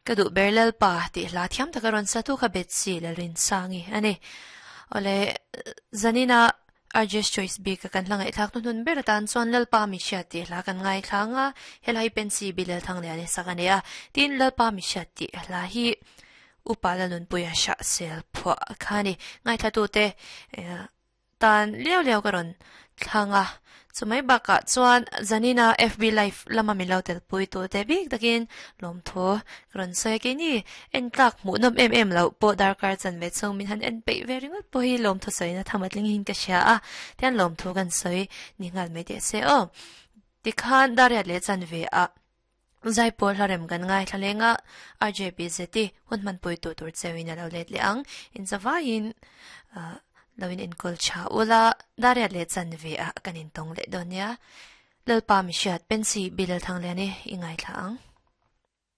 Ka duh ber Lalpa tih hla thiam taka rawn sa tu kha Betsy Lalrinsangi a ni. Awle, zanina RJ's Choice bik a kan hla ngaihthlak hnuhnun ber atan chuan Lalpa mi hriat tih hla kan ngaithla ang a, helai hi Pensy Bilal Thangliani sak a ni a. Tin, Lalpa mi hriat tih hla hi Upa Lalnunpuia Hrahsel phuah kha a ni. Ngaithlatute tan liau liau ka rawn thlang a, chumai bakah chuan Zanina FB live lama min lo telpui tu te bik takin lawmthu ka rawn sawi a, keini en tlak hmuh nawm em em loh pawh darkar chan ve chhung min han en peih ve ringawt pawh hi lawmthu sawina tham a tling hin ka hria a, tihian lawmthu kan sawi ni nghal mai teh se aw. Tikhan Dariat leh chan ve a Zaipawl hlarem kan ngaithla leng a, RJBZ i hun hmanpui tu tur cheuin a lo let leh ang. Inzavaiin lo in enkawl tha ula, Dariat leh Chanve ah kan intawng leh dawn nia. Lalpa mihriat Pensy Bilal Thangliani i ngaithla ang.